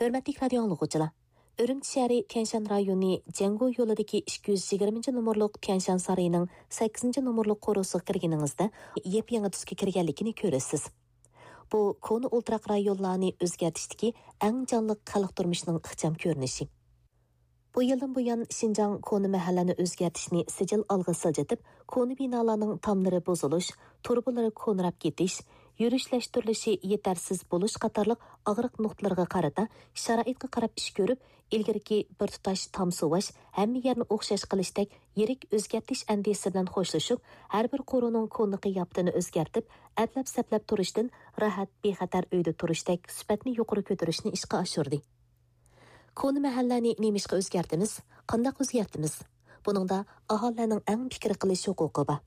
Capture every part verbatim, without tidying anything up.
ھۆرمەتلىك رادىيو ئاڭلىغۇچىلار! ئۈرۈمچى شەھىرى تيەنشان رايونى جيەنگۇ يولىدىكى ئىككى يۈز يىگىرمىنچى نومۇرلۇق تيەنشان سارىيىنىڭ سەككىزىنچى نومۇرلۇق قورۇسىغا كىرگىنىڭىزدە، يېپيېڭى تۈسكە كىرگەنلىكىنى كۆرىسىز. بۇ كونا ئولتۇراق رايونلارنى ئۆزگەرتىشتىكى ئەڭ جانلىق خەلق تۇرمۇشىنىڭ ئىخچام كۆرۈنۈشى. بۇ يىلدىن بۇيان، شىنجاڭ كونا مەھەللىنى ئۆزگەرتىشنى سىجىل ئالغا سىلجىتىپ، كونا بىنالارنىڭ تاملىرى بۇزۇلۇش، تۇرۇبىلىرى كونىراپ كېتىش، يۈرۈشلەشتۈرۈلۈشى يېتەرسىز بولۇش قاتارلىق ئاغرىق نۇقتىلىرىغا قارىتا شارائىتقا قاراپ ئىش كۆرۈپ، ئىلگىرىكى بىر تۇتاش تام سۇۋاش، ھەممە يەرنى ئوخشاش قىلىشتەك يىرىك ئۆزگەرتىش ئەندىزىسى بىلەن خوشلىشىپ، ھەر بىر قورۇنىڭ كونا قىياپىتىنى ئۆزگەرتىپ، ئەپلەپ-سەپلەپ تۇرۇشتىن راھەت، بىخەتەر ئۆيدە تۇرۇشتەك سۈپەتنى يۇقىرى كۆتۈرۈشنى ئىشقا ئاشۇردى. كونا مەھەللەنى نېمىشقا ئۆزگەرتىمىز؟ قانداق ئۆزگەرتىمىز؟ بۇنىڭدا ئاھالىلەرنىڭ ئەڭ پىكىر قىلىش ھوقۇقى بار.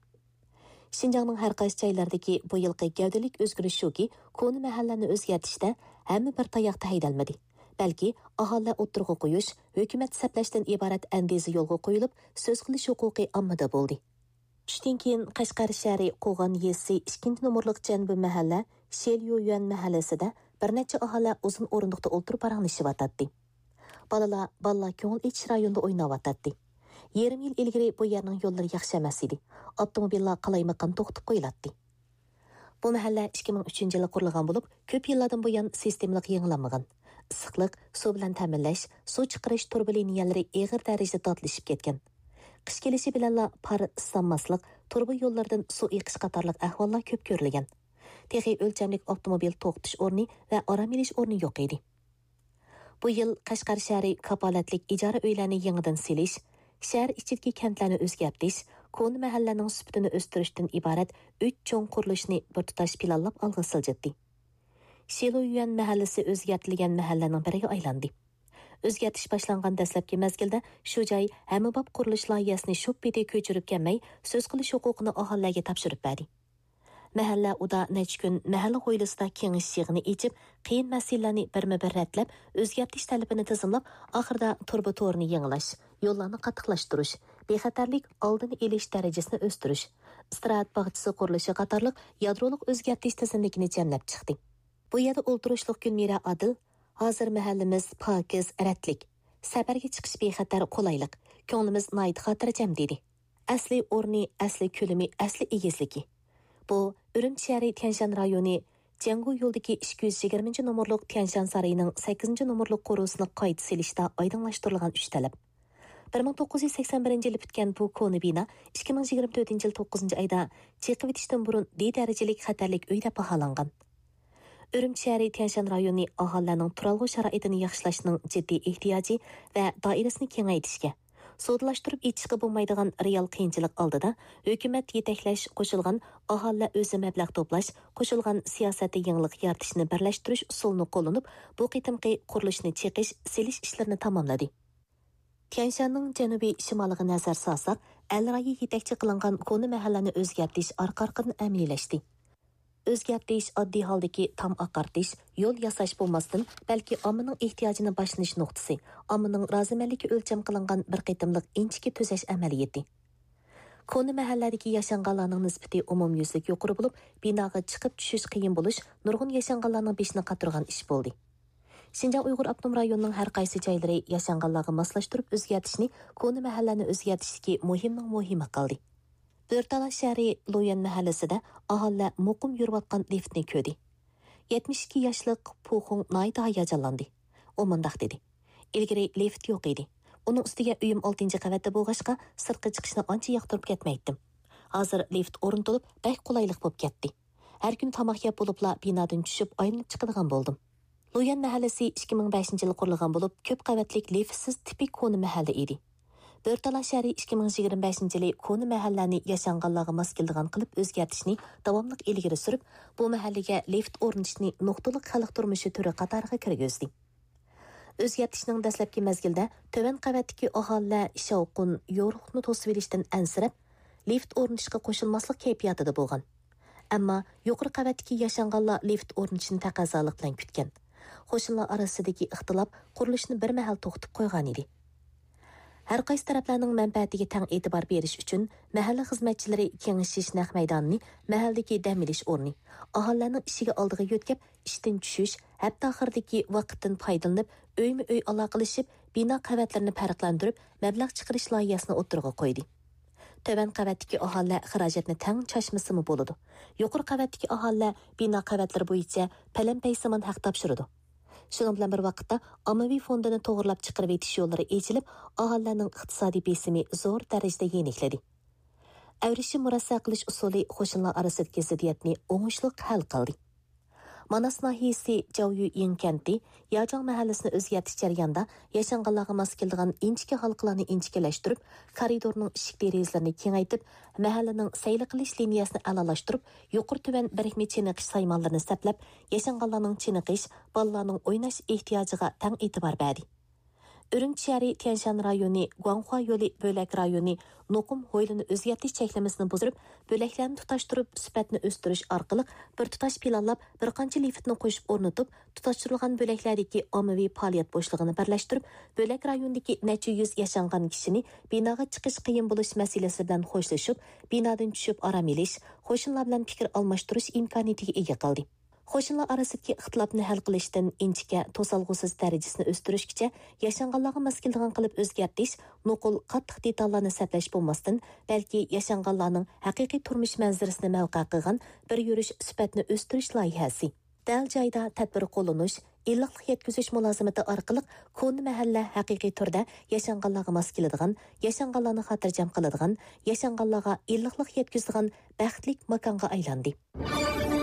شىنجاڭنىڭ ھەر قايسى جايلىرىدىكى بۇ يىلقى گەۋدىلىك ئۆزگىرىش شۇكى، كونا مەھەللەنى ئۆزگەرتىشتە ھەممە بىر تاياقتا ھەيدەلمىدى، بەلكى ئاھالىلەر ئوتتۇرىغا قويۇش، ھۆكۈمەت سەپلەشتىن ئىبارەت ئەندىزە يولغا قويۇلۇپ، سۆز قىلىش ھوقۇقى ئاممىدا بولدى. چۈشتىن كېيىن قەشقەر شەھىرى قوغان يېزىسى ئىككىنچى نومۇرلۇق جەنۇبىي مەھەللە شيەليۇيۈەن مەھەللىسىدە بىر نەچچە ئاھالە ئۇزۇن ئورۇندۇقتا ئولتۇرۇپ پاراڭلىشىۋاتاتتى. بالىلار بالىلار كۆڭۈل ئېچىش رايونىدا ئويناۋاتاتتى. يېرىم يىل ئىلگىرى بۇ يەرنىڭ يوللىرى ياخشى ئەمەس ئىدى. ئاپتوموبىللار قالايمىقان توختىتىپ قويۇلاتتى. بۇ مەھەللە ئىككى مىڭ ئۈچىنچى يىلى قۇرۇلغان بولۇپ، كۆپ يىللاردىن بۇيان سىستېمىلىق يېڭىلانمىغان. ئىسسىقلىق، سۇ بىلەن تەمىنلەش، سۇ چىقىرىش تۇرۇبا لىنىيەلىرى ئېغىر دەرىجىدە داتلىشىپ كەتكەن. قىش كېلىشى بىلەنلا پار ئىسسانماسلىق، تۇرۇبا يوللىرىدىن سۇ ئېقىش قاتارلىق ئەھۋاللار كۆپ كۆرۈلگەن. تېخى ئۆلچەملىك ئاپتوموبىل توختىتىش ئورنى ۋە ئارام ئېلىش ئورنى يوق ئىدى. بۇ يىل قەشقەر شەھىرى كاپالەتلىك ئىجارە ئۆيلەرنى يېڭىدىن سېلىش، شەھەر ئىچىدىكى كەنتلەرنى ئۆزگەرتىش، كونا مەھەللىنىڭ سۈپىتىنى ئۆستۈرۈشتىن ئىبارەت ئۈچ چوڭ قۇرۇلۇشنى بىر تۇتاش پىلانلاپ ئالغا سىلجىتتى. شىلۇيۈەن مەھەللىسى ئۆزگەرتىلگەن مەھەللىنىڭ بىرىگە ئايلاندى. ئۆزگەرتىش باشلانغان دەسلەپكى مەزگىلدە شۇ جاي ھەممىباب قۇرۇلۇش لايىھەسىنى شوپپىدە كۆچۈرۈپ كەلمەي، سۆز قىلىش ھوقۇقىنى ئاھالىلەرگە تاپشۇرۇپ بەردى. مەھەللە ئۇدا نەچچە كۈن مەھەللە ھويلىسىدا كېڭىشىش يىغىنى ئېچىپ، قىيىن مەسىلىلەرنى بىرمۇ بىر رەتلەپ، ئۆزگەرتىش تەلىپىنى تىزىملاپ، ئاخىرىدا تۇرۇبا تورىنى يېڭىلاش، يوللارنى قاتتىقلاشتۇرۇش، بىخەتەرلىك ئالدىنى ئېلىش دەرىجىسىنى ئۆستۈرۈش، ئىستىراھەت باغچىسى قۇرۇلۇشى قاتارلىق يادرولۇق ئۆزگەرتىش تىزىملىكىنى جەملەپ چىقتى. بۇ يەردە ئولتۇرۇشلۇق گۈلمىرە ئادىل، ھازىر مەھەللىمىز پاكىز، رەتلىك، سەپەرگە چىقىش بىخەتەر، قولايلىق، كۆڭلىمىز ناھايىتى خاتىرجەم، دېدى. ئەسلى ئورنى، ئەسلى كۆلىمى، ئەسلى ئېگىزلىكى. بۇ ئۈرۈمچى شەھىرى تيەنشان رايونى جيەنگۇ يولىدىكى ئىككى يۈز يىگىرمىنچى نومۇرلۇق تيەنشان سارىيىنىڭ سەككىزىنچى نومۇرلۇق قورۇسىنى قايتا سېلىشتا ئايدىڭلاشتۇرۇلغان ئۈچ تەلەپ. بىر مىڭ توققۇز يۈز سەكسەن بىرىنچى يىلى پۈتكەن بۇ كونا بىنا ئىككى مىڭ يىگىرمە تۆتىنچى يىل توققۇزىنچى ئايدا چېقىۋېتىشتىن بۇرۇن دې دەرىجىلىك خەتەرلىك ئۆي دەپ باھالانغان. ئۈرۈمچى شەھىرى تيەنشان رايونى ئاھالىلەرنىڭ تۇرالغۇ شارائىتىنى ياخشىلاشنىڭ جىددىي ئېھتىياجى ۋە دائىرىسىنى كېڭەيتىشكە، سودىلاشتۇرۇپ ئېيتىشقا بولمايدىغان رېئال قىيىنچىلىق ئالدىدا ھۆكۈمەت يېتەكلەش قوشۇلغان ئاھالىلەر ئۆزى مەبلەغ توپلاش قوشۇلغان سىياسەتتە يېڭىلىق يارىتىشنى بىرلەشتۈرۈش ئۇسۇلىنى قوللىنىپ، بۇ قېتىمقى قۇرۇلۇشنى چېقىش، سېلىش ئىشلىرىنى تاماملىدى. تيەنشاننىڭ جەنۇبىي شىمالىغا نەزەر سالساق، ئەل رايى يېتەكچى قىلىنغان كونا مەھەللىنى ئۆزگەرتىش ئارقا-ئارقىدىن ئەمەلىيلەشتى. ئۆزگەرتىش ئاددىي ھالدىكى تام ئاقارتىش، يول ياساش بولماستىن، بەلكى ئاممىنىڭ ئېھتىياجىنى باشلىنىش نۇقتىسى، ئاممىنىڭ رازىمەنلىكى ئۆلچەم قىلىنغان بىر قېتىملىق ئىنچىكە تۈزەش ئەمەلىيىتى. كونا مەھەللەدىكى ياشانغانلارنىڭ نىسبىتى ئومۇميۈزلۈك يۇقىرى بولۇپ، بىناغا چىقىپ چۈشۈش قىيىن بولۇش نۇرغۇن ياشانغانلارنىڭ بېشىنى قاتۇرغان ئىش بولدى. شىنجاڭ ئۇيغۇر ئاپتونوم رايونىنىڭ ھەر قايسى جايلىرى ياشانغانلارغا ماسلاشتۇرۇپ ئۆزگەرتىشنى كونا مەھەللەنى ئۆزگەرتىشتىكى مۇھىمنىڭ مۇھىمى قىلدى. بۆرتالا شەھىرى لويۈەن مەھەللىسىدە ئاھالىلەر مۇقىم يۈرۈۋاتقان لىفتنى كۆردى. يەتمىش ئىككى ياشلىق پۇخۇڭ ناھايىتى ھاياجانلاندى. ئۇ مۇنداق دېدى: «ئىلگىرى لىفت يوق ئىدى. ئۇنىڭ ئۈستىگە ئۆيۈم ئالتىنچى قەۋەتتە بولغاچقا، سىرتقا چىقىشنى ئانچە ياقتۇرۇپ كەتمەيتتىم. ھازىر لىفت ئورنىتىلىپ، بەك قولايلىق بولۇپ كەتتى. ھەر كۈنى تاماق يەپ بولۇپلا بىنادىن چۈشۈپ ئايلىنىپ چىقىدىغان بولدۇم.» لويۈەن مەھەللىسى ئىككى مىڭ بەشىنچى يىلى قۇرۇلغان بولۇپ، كۆپ قەۋەتلىك لىفتسىز تىپىك كونا مەھەللە ئىدى. بۆرتالا شەھىرى ئىككى مىڭ يىگىرمە بەشىنچى يىلى كونا مەھەللەنى ياشانغانلارغا ماس كېلىدىغان قىلىپ ئۆزگەرتىشنى داۋاملىق ئىلگىرى سۈرۈپ، بۇ مەھەللىگە لىفت ئورنىتىشنى نۇقتىلىق خەلق تۇرمۇشى تۈرى قاتارىغا كىرگۈزدى. ئۆزگەرتىشنىڭ دەسلەپكى مەزگىلىدە تۆۋەن قەۋەتتىكى ئاھالىلەر شاۋقۇن، يورۇقلۇقنى توسۇۋېلىشتىن ئەنسىرەپ، لىفت ئورنىتىشقا قوشۇلماسلىق كەيپىياتىدا بولغان. ئەمما يۇقىرى قەۋەتتىكى ياشانغانلار لىفت ئورنىتىشنى تەقەززالىق بىلەن كۈتكەن. قوشنىلار ئارىسىدىكى ئىختىلاپ قۇرۇلۇشنى بىر مەھەل توختىتىپ قويغانىدى. ھەر قايسى تەرەپلەرنىڭ مەنپەئەتىگە تەڭ ئېتىبار بېرىش ئۈچۈن، مەھەللە خىزمەتچىلىرى كېڭىشىش نەق مەيدانىنى مەھەللىدىكى دەم ئېلىش ئورنى، ئاھالىلەرنىڭ ئىشىكى ئالدىغا يۆتكەپ، ئىشتىن چۈشۈش، ھەپتە ئاخىرىدىكى ۋاقىتتىن پايدىلىنىپ، ئۆيمۇ ئۆي ئالاقىلىشىپ، بىنا قەۋەتلىرىنى پەرقلەندۈرۈپ، مەبلەغ چىقىرىش لايىھەسىنى ئوتتۇرىغا قويدى. تۆۋەن قەۋەتتىكى ئاھالىلەر خىراجەتنى تەڭ چاچمىسىمۇ بولىدۇ. يۇقىرى قەۋەتتىكى ئاھالىلەر بىنا قەۋەتلىرى بويىچە پەلەمپەيسىمان ھەق تاپشۇرىدۇ. شۇنىڭ بىلەن بىر ۋاقىتتا، ئاممىۋى فوندىنى توغرىلاپ چىقىرىۋېتىش يوللىرى ئېچىلىپ، ئاھالىلەرنىڭ ئىقتىسادىي بېسىمى زور دەرىجىدە يېنىكلىدى. ئەۋرىشىم مۇرەسسە قىلىش ئۇسۇلى قوشنىلار ئارىسىدىكى زىددىيەتنى ئوڭۇشلۇق ھەل قىلدى. ماناس ناھىيەسى جاۋيۈئىڭ كەنتى ياجاڭ مەھەللىسىنى ئۆزگەرتىش جەريانىدا ياشانغانلارغا ماس كېلىدىغان ئىنچىكە ھالقىلارنى ئىنچىكىلەشتۈرۈپ، كارىدورنىڭ ئىشىك دېرىزىلىرىنى كېڭەيتىپ، مەھەللىنىڭ سەيلە قىلىش لىنىيەسىنى ئەلالاشتۇرۇپ، يۇقىرى تۆۋەن بىرىكمە چېنىقىش سايمانلىرىنى سەپلەپ، ياشانغانلارنىڭ چېنىقىش، بالىلارنىڭ ئويناش ئېھتىياجىغا تەڭ ئېتىبار بەردى. ئۈرۈمچى شەھىرى تيەنشان رايونى گۇاڭخۇا يولى بۆلەك رايونى نوقۇم ھويلىنى ئۆزگەرتىش چەكلىمىسىنى بۇزدۇرۇپ، بۆلەكلەرنى تۇتاشتۇرۇپ، سۈپەتنى ئۆستۈرۈش ئارقىلىق بىر تۇتاش پىلانلاپ، بىر قانچە لىفتنى قوشۇپ ئورنىتىپ، تۇتاشتۇرۇلغان بۆلەكلەردىكى ئاممىۋى پائالىيەت بوشلۇقىنى بىرلەشتۈرۈپ، بۆلەك رايونىدىكى نەچچە يۈز ياشانغان كىشىنى بىناغا چىقىش قىيىن بولۇش مەسىلىسى بىلەن خوشلىشىپ، بىنادىن چۈشۈپ ئارام ئېلىش، قوشنىلار بىلەن پىكىر ئالماشتۇرۇش ئىمكانىيىتىگە ئىگە قىلدى. قوشنىلار ئارىسىدىكى ئىختىلاپنى ھەل قىلىشتىن ئىنچىكە، توسالغۇسىز دەرىجىسىنى ئۆستۈرۈشكىچە ياشانغانلارغا ماس كېلىدىغان قىلىپ ئۆزگەرتىش، نوقۇل قاتتىق دېتاللارنى سەپلەش بولماستىن، بەلكى ياشانغانلارنىڭ ھەقىقىي تۇرمۇش مەنزىرىسىنى مەۋقە قىلغان بىر يۈرۈش سۈپەتنى ئۆستۈرۈش لايىھەسى. دەل جايىدا تەدبىر قوللىنىش، ئىللىقلىق يەتكۈزۈش مۇلازىمىتى ئارقىلىق كونا مەھەللە ھەقىقىي تۈردە ياشانغانلارغا ماس كېلىدىغان، ياشانغانلارنى خاتىرجەم قىلىدىغان، ياشانغانلارغا ئىللىقلىق يەتكۈزىدىغان بەختلىك ماكانغا ئايلاندى.